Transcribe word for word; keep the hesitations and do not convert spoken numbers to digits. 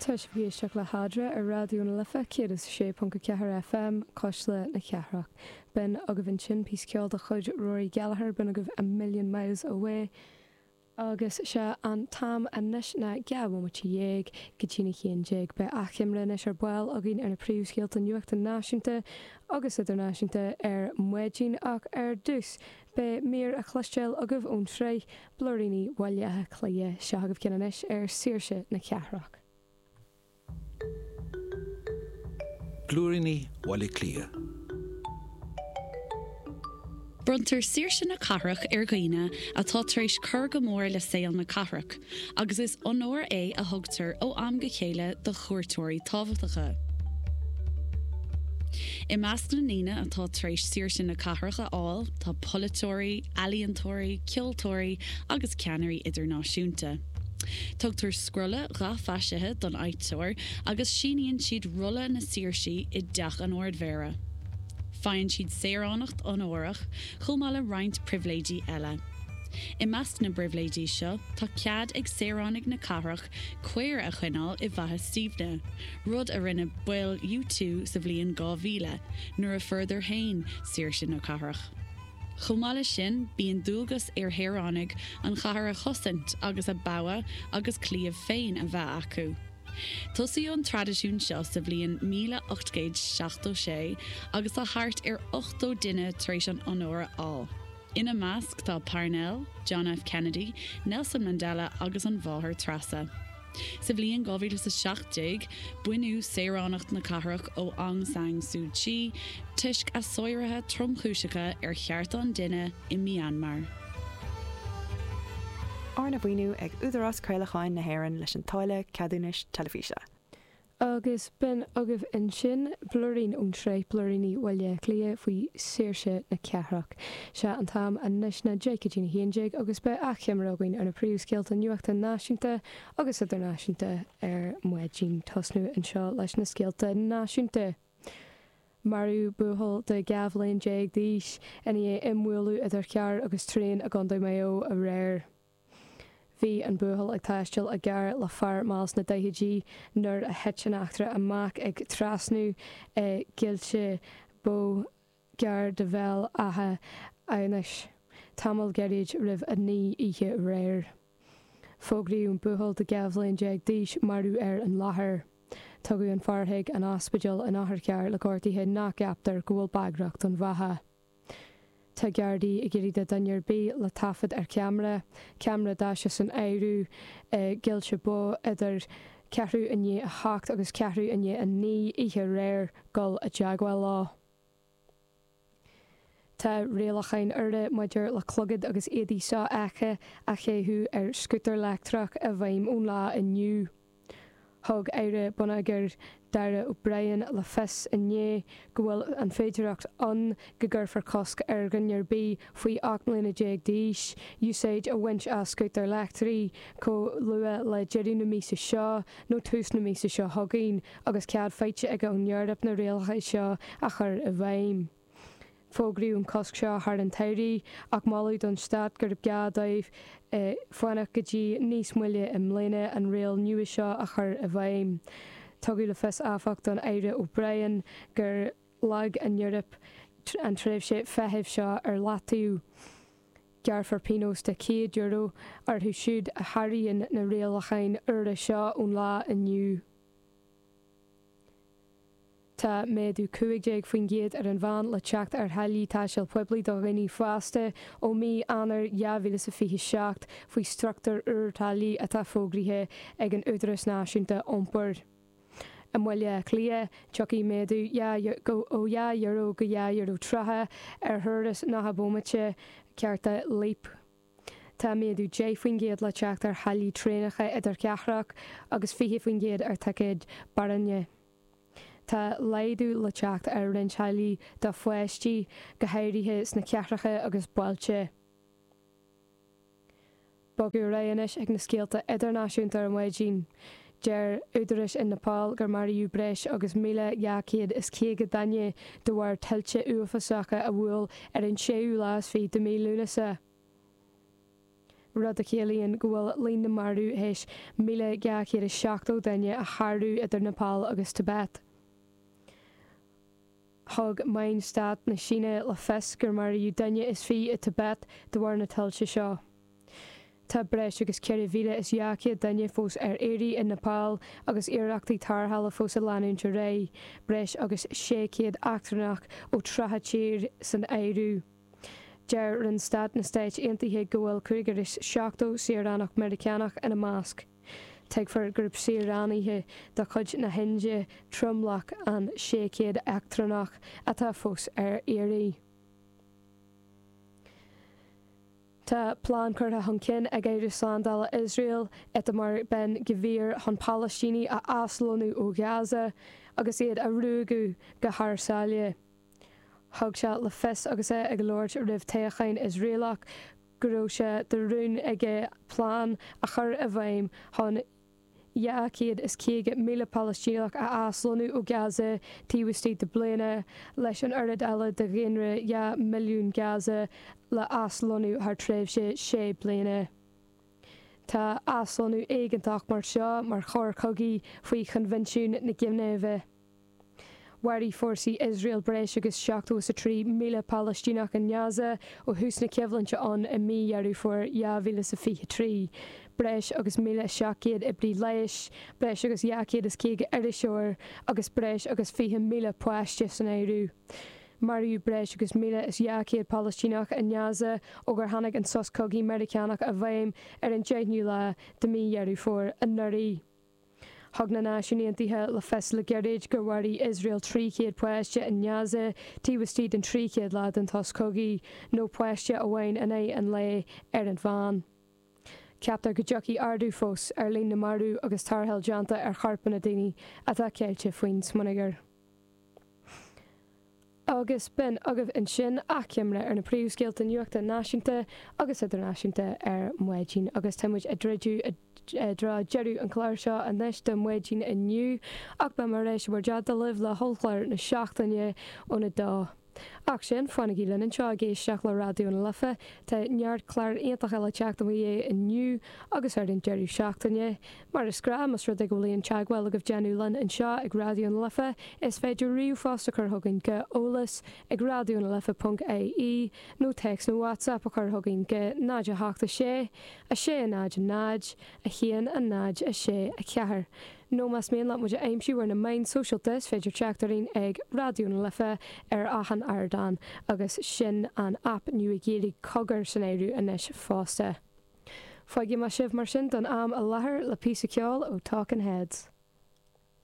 Tá sibh ag éisteacht le hEadra ar Raidió na Life céad is a sé ponc a ceathair FM, Cuisle na Cathrach. B'in agaibh ansin píosa ceoil de chuid Rory Gallagher, b'in agaibh A Million Miles Away. Agus sé an t-am anois ná dhá bhomaite dhéag go dtína haon déag. Beidh achoimre anois ar ball againn ar na príomhscéalta nuachta náisiúnta agus idirnáisiúnta ar maidin ach ar dtús beidh mír a chloisteáil agaibh ón tsraith Blúiríní Bhaile Átha Cliath. Seo agaibh ceann anois ar Saoirse na Cathrach. Blúiríní Bhaile Átha Cliath. Bronntar Saoirse na Cathrach ar dhaoine atá tar éis cur go mór le saol na cathrach, agus is onóir é a thugtar ó am go chéile do chuairteoirí tábhachtacha. I measc na ndaoine atá tar éis Saoirse na Cathrach a fháil tá polaiteoirí, ealaíontóirí, ceoltóirí agus ceannairí idirnáisiúnta. Tugtar scrolla dhathmhaisithe don fhaighteoir agus síníonn siad rolla na saoirsí i dteach an Ardmhéara. Faigheann siad saoránacht onórach chomh maith le roinnt pribhléidí eile. I measc na bpribhléidí seo tá cead ag saoránaigh na cathrach caor a choinneáil i bhFaiche Stiabhna, rud a rinne baill U two sa bhliain dhá mhíle nuair a fuaireadar féin saoirse na cathrach. Chomh maith leis sin, bíonn dualgas ar shaoránaigh an chathair a chosaint agus a bogha agus claíomh féin a bheith acu. Tosaíodh an traidisiún seo sa bhliain míle ocht gcéad seachtó sé agus tá thart ar ochtó duine tar éis an onóir a fháil. Ina measc tá Parnell, John F. Kennedy, Nelson Mandela agus an Mháthair Treasa. Sa bhliain dhá mhíle is a seacht déag, baineadh saoránacht na cathrach ó Aung San Suu Kyi toisc a sáruithe tromchúiseacha ar chearta an duine i Myanmar. Arna mhaoiniú ag Údarás Craolacháin na hÉireann leis an táille ceadúnais teilifíse. Agus b'in agaibh ansin blúirín ón tsraith Blúiríní Bhaile Átha Cliath faoi Saoirse na Cathrach. Sé an t-am anois ná deich go dtí a haon déag agus beidh achoimre againn ar na príomhscéalta nuachta náisiúnta agus idirnáisiúnta ar maidin. Tosnú anseo leis na scéalta náisiúnta. Maraíodh buachaill de dhá bhliain déag d'aois i ndiaidh imbhualadh idir charr agus traein i gContae Mhaigh Eo aréir. Bhí an buachaill ag taisteal i gcarr le fear mall sna daichidí nuair a thit an eachtra amach ag trasnú i gCoillte Bó gar do Bhéal Átha Fhionnais, tamall gairid roimh a naoi oíche aréir. Fógraíodh an buachaill de dhá bhliain déag d'aois marbh ar an láthair. Tugadh an fear chuig an ospidéal in otharcharr le gortuithe nach gceaptar go bhfuil bagrach don bheatha. Tá Gardaí ag iarraidh do dhuine ar bith le taifead ar cheamara, ceamara daise san áireamh, i gCoillte Bó idir ceathrú i ndiaidh a hocht agus ceathrú i ndiaidh a naoi oíche aréir dul i dteagmháil leo. Tá rialacháin úra maidir le clogad agus éadaí sofheicthe a chaitheamh ar scútar leictreach i bhfeidhm ón lá inniu. Thug Aire Bonneagair Darragh O'Brien le fios inné go bhfuil an féidearthacht ann go gcuirfear cosc ar dhuine ar bith faoi ocht mbliana déag d'aois úsáid a bhaint as scútar leictreach chomh luath le deireadh na míosa seo nó tús na míosa seo chugainn agus cead faighte aige ón Eoraip na rialacha seo a chur i bhfeidhm. Fógraíodh an cosc seo thar an tsamhradh ach moladh don stát gurb gá dóibh fanacht go dtí níos moille i mbliana an riail nua seo a chur i bhfeidhm. Tugadh le fios áfach don Aire O'Brien gur leag an Eoraip an tréimhse feithimh seo ar leataobh. Gearrfar pionós de céad euro orthu siúd a sháraíonn na rialacháin úra seo ón lá inniu. Tá méadú cúig déag faoin gcéad ar an mheán le teacht ar tháillí taistil poiblí do dhaoine fásta ó mhí Eanáir dhá mhíle is a fiche seacht faoi struchtúr úr táillí atá fógraithe ag an Údarás Náisiúnta Iompair. I mBaile Átha Cliath, tiocfaidh méadú ó dhá euro go dhá euro tríocha ar thuras nócha bomaite cárta Leap. Tá méadú deich faoin gcéad le teacht ar tháillí traenacha idirchathrach agus fiche faoin gcéad ar thicéid barainne. Tá laghdú le teacht ar roinnt táillí do pháistí, go háirithe sna cathracha agus bailte. Bogadh ar aghaidh anois ag na scéalta idirnáisiúnta ar maidin. Deir údaráis in Nepal gur maraíodh breis agus míle dhá chéad is caoga duine de bharr tuilte uafásacha a bhuail ar an séú lá is fiche de mhí Lúnasa. rud a chiallaíonn go bhfuil líon na marbh théis míle dhá chéad is seachtó duine a shárú idir Nepal agus Tibet. Thug meáin stáit na Síne le fios gur maraíodh duine is fiche i Tibet de bharr na tuilte seo. Tá breis agus ceithre mhíle is dhá chéad duine fós ar iarraidh i Nepal agus iarrachtaí tarrthála fós ag leanúint ar aghaidh, breis agus sé chéad eachtrannach ó tríocha tír san áireamh. Deir Roinn Stáit na Stáit Aontaithe go bhfuil cúigear is seachtó saoránach Meiriceánach ina measc. Tuigtear gurb saoránaithe de chuid na hIndia tromlach an sé chéad eachtrannach atá fós ar iarraidh. Tá plean curtha chun cinn ag Aire Slándála Iosrael, Itamar Ben Gvir chun Palaistínigh a aslonnú ó Ghaza agus iad a ruaigeadh go thar sáile. Thug sé le fios agus é ag labhairt roimh toghchán Iosraelach go raibh sé de rún aige plean a chur i bhfeidhm chun dhá chéad is caoga míle Palaistíneach a aslonnú ó Gaza taobh istigh de bliana, leis an oiread eile de dhaonra dhá mhilliún Gaza le aslonnú thar tréimhse sé bliana. Tá aslonnú éigeantach mar seo mar choir chogaidh faoi Choinbhinsiún na Ginéive. Mharaigh fórsaí Iosrael breis agus seachtó is a trí míle Palaistíneach i nGaza ó thús na coimhlinte ann i mí Dheireadh Fómhair dhá mhíle is a fiche trí, breis agus míle seacht gcéad oibrí leighis, breis agus dhá chéad is caoga iriseoir agus breis agus fiche míle páiste san áireamh. Maraíodh breis agus míle is dhá chéad Palaistíneach i nGaza ó gur tháinig an sos cogaidh Meiriceánach i bhfeidhm ar an deichiú lá de mhí Dheireadh Fómhair anuraidh. Thug na Náisiúin Aontaithe le fios le gairid gur mharaigh Iosrael trí chéad páiste i nGaza taobh istigh den trí chéad lá den tsos cogaidh, nó páiste amháin in aghaidh an lae ar an mheán. Ceaptar go dtiocfaidh ardú fós ar líon na marbh agus tarrtháil déanta ar chorpanna daoine atá ceilte faoin smionagar. Agus b'in agaibh ansin achoimre ar na príomhscéalta nuachta náisiúnta agus idirnáisiúnta ar maidin agus tá muid ag druidim i dtreo deireadh an chláir seo anois do maidin inniu ach beidh mé ar ais i bhur dteannta libh le hollchlár na seachtaine óna dó. Ach sin, fanaigí linn anseo ag éisteacht le Raidió na Life, tá neart clár iontach eile teacht i bhur ndiaidh inniu agus ar an deireadh seachtaine. Mar is gnáth, más rud é go bhfuil aon teagmháil agaibh déanamh linn anseo ag Raidió na Life, is féidir ríomhphost a chur chugainn go eolas ag raidió na life ponc ie nó téacs nó WhatsApp a chur chugainn go náid a hocht a sé, a sé a náid a náid, a haon a náid a sé a ceathair. Nó más mian leat muid a aimsiú ar na meáin sóisialta is féidir teacht orainn ag Raidió na Life ar achan ardán agus sin an aip nua Gaeilge Cogar san áireamh anois fosta. Fágfaidh mé sibh mar sin don am i láthair le píosa ceoil ó Talking Heads.